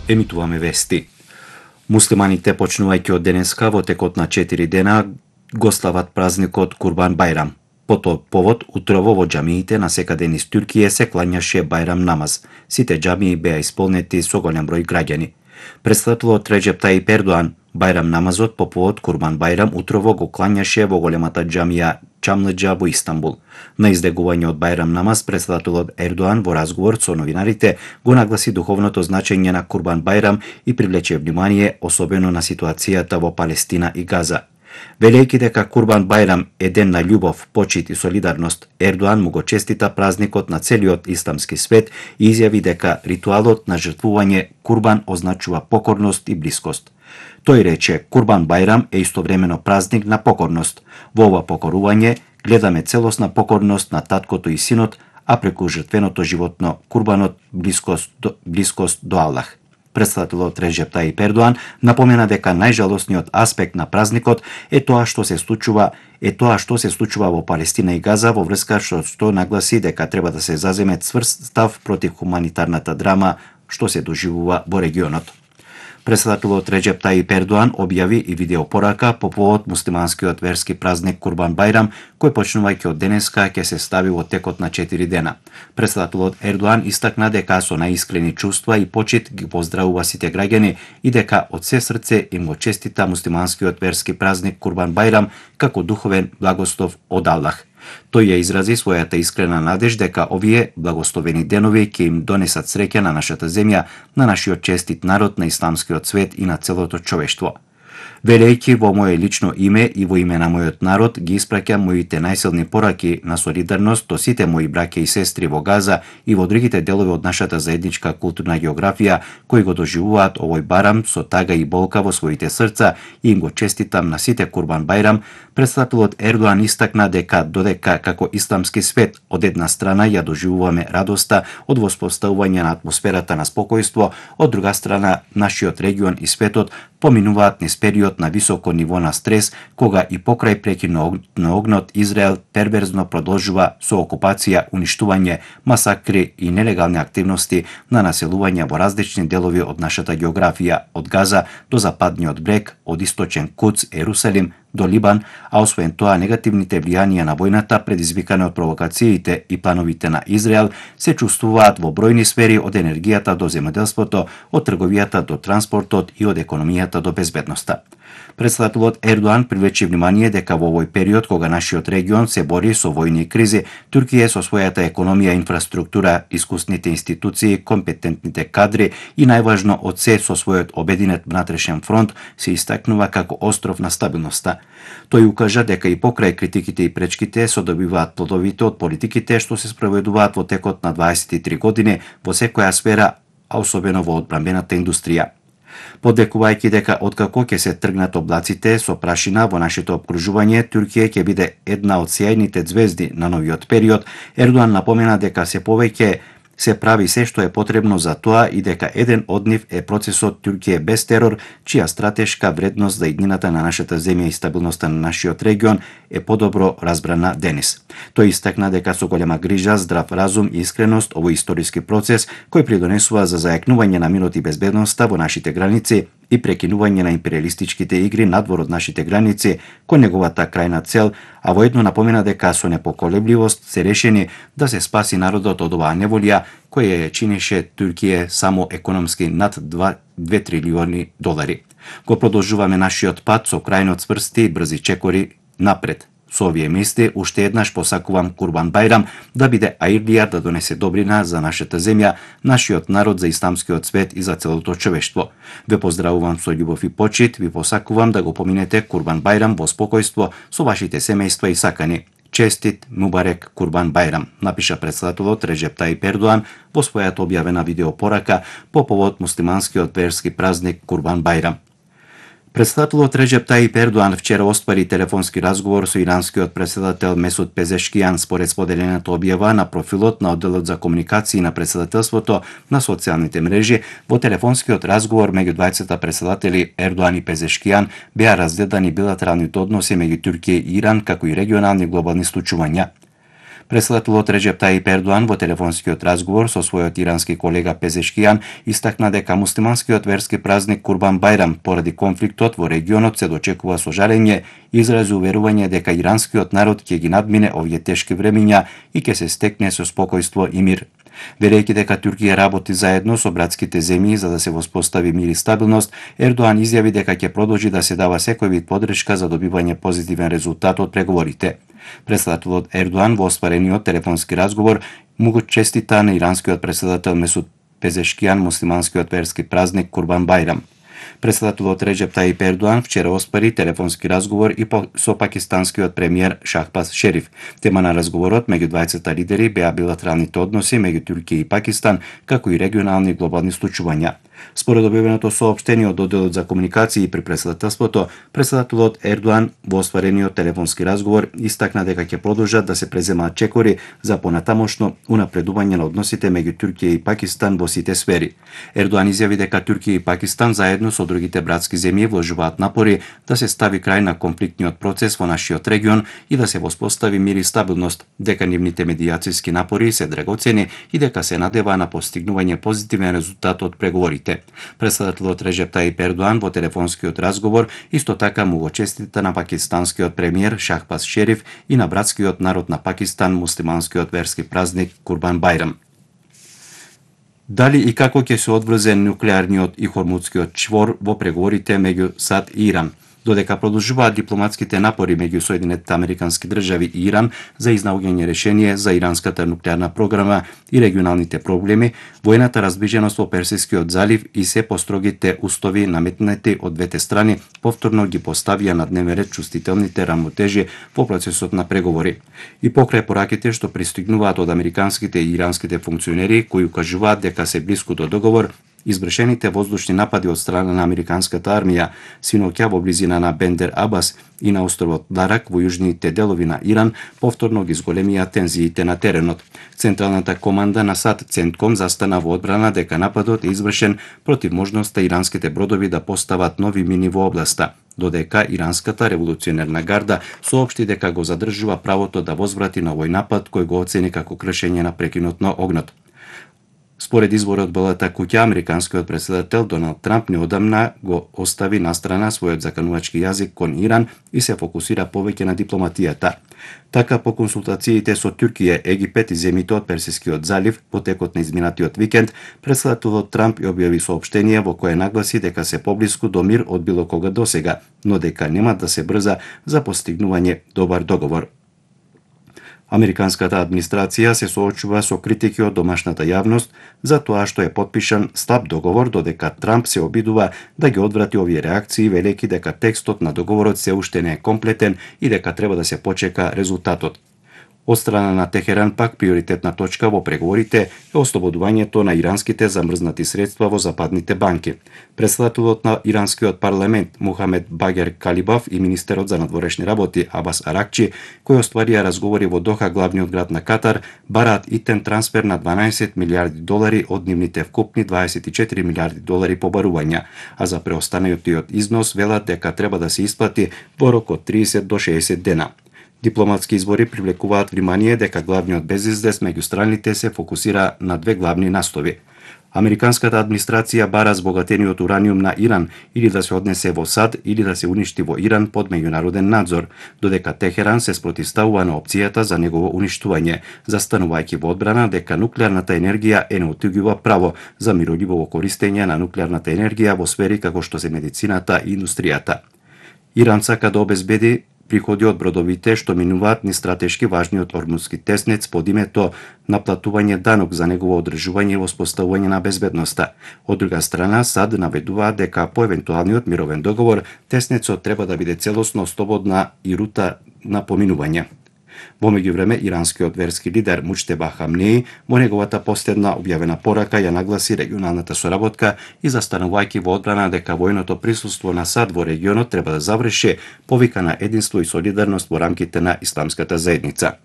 Емитуваме вести. Муслиманите почнувајќи од денеска во текот на 4 дена го слават празникот Курбан Байрам. По тој повод, утрово во џамиите на секаде низ Туркија се клањаше Байрам намаз. Сите џамии беа исполнети со голем број граѓани. Претставителот Реџеп Тајип Ердоан Байрам намазот по повод Курбан Байрам утрово го клањаше во големата џамија Чамлыџа во Истанбул. На издегување од Байрам намаз, претставителот Ердоан во разговор со новинарите го нагласи духовното значење на Курбан Байрам и привлече внимание особено на ситуацијата во Палестина и Газа. Велејќи дека Курбан Байрам е ден на љубов, почит и солидарност, Ердоан му го честита празникот на целиот исламски свет и изјави дека ритуалот на жртвување Курбан означува покорност и блискост. Тој рече, Курбан Байрам е истовремено празник на покорност. Во ова покорување гледаме целосна покорност на таткото и синот, а преку жртвеното животно Курбанот блискост до Аллах. Претставителот Реџеп Тајип Ердоан напомена дека најжалосниот аспект на празникот е тоа што се случува во Палестина и Газа, во врска што нагласи дека треба да се заземе цврст став против хуманитарната драма што се доживува во регионот. Претставителот Реџеп Тајип Ердоан објави и видеопорака по повод муслиманскиот верски празник Курбан Байрам, кој почнувајќи од денеска ќе се стави во текот на 4 дена. Претставителот Ердоан истакна дека со најискрени чувства и почит ги поздравува сите граѓани и дека од се срце им го честита муслиманскиот верски празник Курбан Байрам како духовен благослов од Аллах. Тој ја изрази својата искрена надеж дека овие благословени денови ќе им донесат среќа на нашата земја, на нашиот честит народ, на исламскиот свет и на целото човештво. Велејќи во моје лично име и во име на мојот народ ги испраќам моите најсилни пораки на солидарност до сите мои браќа и сестри во Газа и во другите делови од нашата заедничка културна географија кои го доживуваат овој барам со тага и болка во своите срца и им го честитам на сите Курбан Байрам. Претставителот Ердоан истакна дека додека како исламски свет од една страна ја доживуваме радоста од воспоставување на атмосферата на спокојство, од друга страна нашиот регион и светот поминуваат низ период на високо ниво на стрес, кога и покрај прекинот на огнот Израел перверзно продолжува со окупација, уништување, масакри и нелегални активности на населување во различни делови од нашата географија, од Газа до западниот брег, од источен Куц, Ерусалим до Либан, а освен тоа негативните влијанија на војната предизвикани од провокациите и плановите на Израел се чувствуваат во бројни сфери, од енергијата до земјоделството, од трговијата до транспортот и од економијата до безбедноста. Претставителот Ердоан привлече внимание дека во овој период кога нашиот регион се бори со војни кризи, Туркија со својата економија, инфраструктура, искусните институции, компетентните кадри и најважно од се со својот обединет внатрешен фронт се истакнува како остров на стабилноста. Тој укажа дека и покрај критиките и пречките се добиваат плодовите од политиките што се спроведуваат во текот на 23 години во секоја сфера, а особено во одбранбената индустрија. Подекувајќи дека откако ќе се тргнат облаците со прашина во нашето обкружување, Туркија ќе биде една од сјајните ѕвезди на новиот период, Ердоан напомена дека се повеќе се прави се што е потребно за тоа и дека еден од нив е процесот Туркија без терор, чија стратешка вредност за иднината на нашата земја и стабилноста на нашиот регион е подобро разбрана денес. Тој истакна дека со голема грижа, здрав разум и искреност овој историски процес кој придонесува за зајакнување на мирот и безбедноста во нашите граници и прекинување на империалистичките игри надвор од нашите граници кон неговата крајна цел, а воедно напомена дека со непоколебливост се решени да се спаси народот од оваа неволја која ја чинеше Туркија само економски над 2 трилиони долари. Го продолжуваме нашиот пат со крајно цврсти и брзи чекори напред. Со овие мисли, уште еднаш посакувам Курбан Байрам да биде аирлија да донесе добрина за нашата земја, нашиот народ, за исламскиот свет и за целото човештво. Ве поздравувам со љубов и почит, ви посакувам да го поминете Курбан Байрам во спокојство со вашите семејства и сакани. Честит Мубарек Курбан Байрам, напиша претставителот Реџеп Тајип Ердоан во својата објавена видеопорака по повод муслиманскиот верски празник Курбан Байрам. Претставителот Реџеп Тајип Ердоан вчера оствари телефонски разговор со иранскиот претседател Месуд Пезешкијан според споделената објава на профилот на одделот за комуникации на претседателството на социјалните мрежи. Во телефонскиот разговор меѓу двајцата претседатели Ердоан и Пезешкијан беа разгледани билатералните односи меѓу Туркија и Иран, како и регионални глобални случувања. Председателот Реджеп Таип Ердоан во телефонскиот разговор со својот ирански колега Пезешкијан истакна дека муслиманскиот верски празник Курбан Байрам поради конфликтот во регионот се дочекува со жалење и изрази уверување дека иранскиот народ ќе ги надмине овие тешки времиња и ќе се стекне со спокојство и мир. Верејќи дека Туркија работи заедно со братските земји за да се воспостави мир и стабилност, Ердоан изјави дека ќе продолжи да се дава секој вид подршка за добивање позитивен резултат од преговорите. Председателот Ердоан во остварениот телефонски разговор му го честита на иранскиот председател Месуд Пезешкијан муслиманскиот верски празник Курбан Байрам. Председателот Реджеп Таип Ердоан вчера оспари телефонски разговор и со пакистанскиот премиер Шахбаз Шериф. Тема на разговорот меѓу двајцата лидери беа билатералните односи меѓу Туркија и Пакистан, како и регионални и глобални случувања. Според објавеното соопштение од одделот за комуникации при председателството, председателот Ердоан во остварениот телефонски разговор истакна дека ќе продолжат да се преземаат чекори за понатамошно унапредување на односите меѓу Туркија и Пакистан во сите сфери. Ердоан изјави дека Туркија и Пакистан заедно со другите братски земји вложуваат напори да се стави крај на конфликтниот процес во нашиот регион и да се воспостави мир и стабилност, дека нивните медијацијски напори се драгоцени и дека се надева на постигнување позитивен резултат од преговорите. Председателот Реджеп Таип Ердоан во телефонскиот разговор исто така му го честита на пакистанскиот премиер Шахбаз Шериф и на братскиот народ на Пакистан муслиманскиот верски празник Курбан Байрам. Дали и како ќе се одврзе нуклеарниот и хормудскиот чвор во преговорите меѓу САД и Иран? Додека продолжуваат дипломатските напори меѓу Соединетите Американски држави и Иран за изнаоѓање решение за иранската нуклеарна програма и регионалните проблеми, воената разбиженост во Персискиот залив и се построгите устови наметнати од двете страни повторно ги поставија на дневен ред чувствителните рамнотежи во процесот на преговори. И покрај пораките што пристигнуваат од американските и иранските функционери кои укажуваат дека се блиску до договор, извршените воздушни напади од страна на американската армија синоќа во близина на Бендер Абас и на островот Дарак во јужните делови на Иран повторно ги зголемија тензиите на теренот. Централната команда на САД Центком застана во одбрана дека нападот е извршен против можноста иранските бродови да постават нови мини во областа, додека иранската револуционерна гарда соопшти дека го задржува правото да возврати на овој напад кој го оцени како кршење на прекинот на огнот. Според изворот од Белата куќа, американскиот председател Доналд Трамп неодамна го остави настрана својот заканувачки јазик кон Иран и се фокусира повеќе на дипломатијата. Така, по консултациите со Туркија, Египет и земјите од Персискиот залив во текот на изминатиот викенд, председателот Трамп ја објави соопштение во кое нагласи дека се поблиску до мир од било кога досега, но дека нема да се брза за постигнување добар договор. Американската администрација се соочува со критики од домашната јавност за тоа што е потпишан слаб договор, додека Трамп се обидува да ги одврати овие реакции, велејќи дека текстот на договорот се уште не е комплетен и дека треба да се почека резултатот. Од страна на Техеран пак приоритетна точка во преговорите е ослободувањето на иранските замрзнати средства во западните банки. Председателот на иранскиот парламент Мухамед Багер Калибав и министерот за надворешни работи Абас Аракчи, кои остварија разговори во Доха, главниот град на Катар, бараат итен трансфер на 12 милиарди долари од нивните вкупни 24 милиарди долари побарувања, а за преостанатиот износ велат дека треба да се исплати во рок од 30 до 60 дена. Дипломатски извори привлекуваат внимание дека главниот безизвест меѓу страните се фокусира на две главни настови. Американската администрација бара збогатениот ураниум на Иран или да се однесе во САД или да се уништи во Иран под меѓународен надзор, додека Техеран се спротивставува на опцијата за негово уништување, застанувајќи во одбрана дека нуклеарната енергија е неотуѓува право за миролюбиво користење на нуклеарната енергија во сфери како што се медицината и индустријата. Иран сака да обезбеди приходи од бродовите што минуваат низ стратешки важниот ормудски теснец под името наплатување данок за негово одржување и воспоставување на безбедноста. Од друга страна, САД наведуваат дека по евентуалниот мировен договор теснецот треба да биде целосно слободна и рута на поминување. Во меѓувреме, иранскиот верски лидер Муџтеба Хамнеи во неговата последна објавена порака ја нагласи регионалната соработка и застанувајќи во одбрана дека војното присуство на САД во регионот треба да заврши, повика на единство и солидарност во рамките на исламската заедница.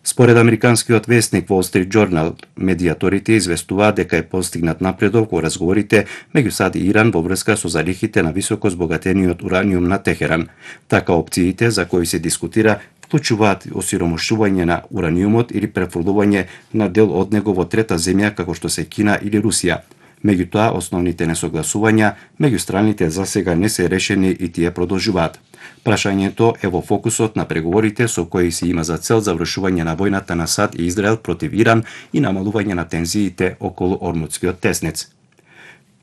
Според американскиот весник Wall Street Journal, медијаторите известуваат дека е постигнат напредок во разговорите меѓу САД и Иран во врска со залихите на високо збогатениот ураниум на Техеран. Така опциите за кои се дискутира вклучуваат осиромашување на ураниумот или префрлување на дел од него во трета земја како што се Кина или Русија. Меѓутоа, основните несогласувања меѓу страните за сега не се решени и тие продолжуваат. Прашањето е во фокусот на преговорите со кои се има за цел завршување на војната на САД и Израел против Иран и намалување на тензиите околу Ормутскиот теснец.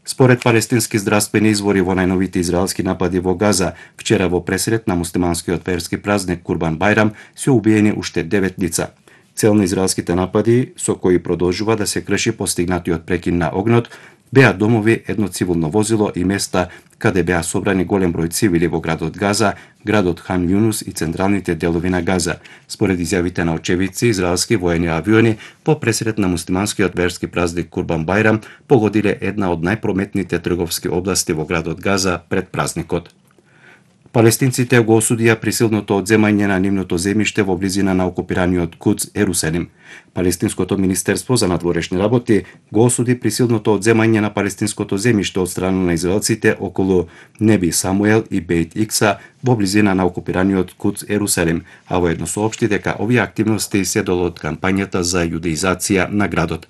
Според палестински здравствени извори во најновите израелски напади во Газа, вчера во пресрет на муслиманскиот верски празник Курбан Бајрам се убиени уште 9 лица. Цел на израелските напади, со кои продолжува да се крши постигнатиот прекин на огнот, беа домови, едно цивилно возило и места каде беа собрани голем број цивили во градот Газа, градот Хан Јунус и централните делови на Газа. Според изјавите на очевидци, израелски воени авиони по пресрет на муслиманскиот верски празник Курбан Бајрам погодиле една од најпрометните трговски области во градот Газа пред празникот. Палестинците го осудија присилното одземање на нивното земјиште во близина на окупираниот Кудс Ерусалим. Палестинското министерство за надворешни работи го осуди присилното одземање на палестинското земјиште од страна на израелците околу Неби Самуел и Бейт Икса во близина на окупираниот Кудс Ерусалим, а воедно соопшти дека овие активности се дел од кампањата за јудеизација на градот.